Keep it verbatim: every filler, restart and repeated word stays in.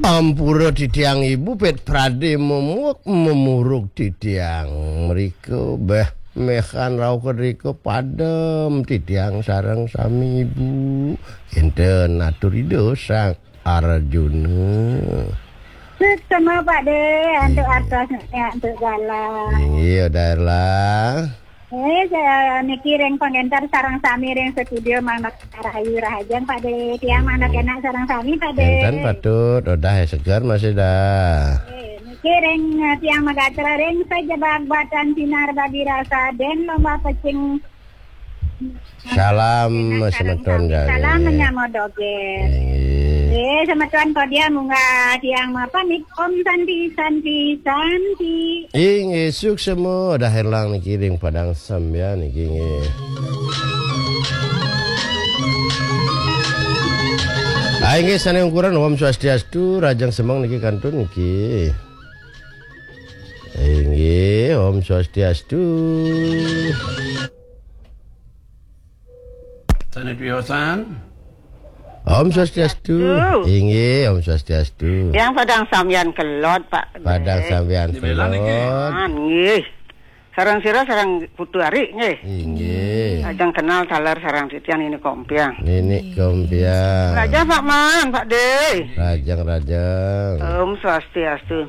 Ampura titiang ibu, pét pradé memuek memuruk titiang mrika, béh méhan rauh kedrika padem titiang sareng sami ibu. Kénten atur Ida Sang Arjuna. Suksma Pak Dé, antuk artosné, antuk galah. Inggih, Odah Erlang. Eh, saya niki ring pangénter sareng sami ring studio, manut rahayu rahajeng Pak Dé. Tiang manut enak sareng sami Pak Dé. Énten patut, Odah seger masih dah. Eh, niki ring, eh, tiang magatra ring sajebag batan sinar bagi rasa den lomba pecing. Salam semeton sareng sami. Salam menyambut dogén. Inggih. Eh, semeton kodia munggah tiang mapamit. Om Santi, Santi, Santi. Inggih, suksma, Odah Erlang niki ring Padang Sambian niki nggih. Ah, inggih, sané ungkuran Om Swastiastu, rahajeng semeng niki kantun niki. Inggih, Om Swastiastu. Sané piyosan. Om Swastiastu. Swastiastu. Inggih, Om Swastiastu. Yang Padang Sambian Kelod, Pak. Padang Sambian Kelod. Nggih. Sareng sira sareng Putu Ari nggih. Inggih. Ajeng kenal taler sareng titiang Nini Kompiang. Nini Kompiang. Rahajeng Pak Man, Pak Dé. Rahajeng, rahajeng. Om Swastiastu.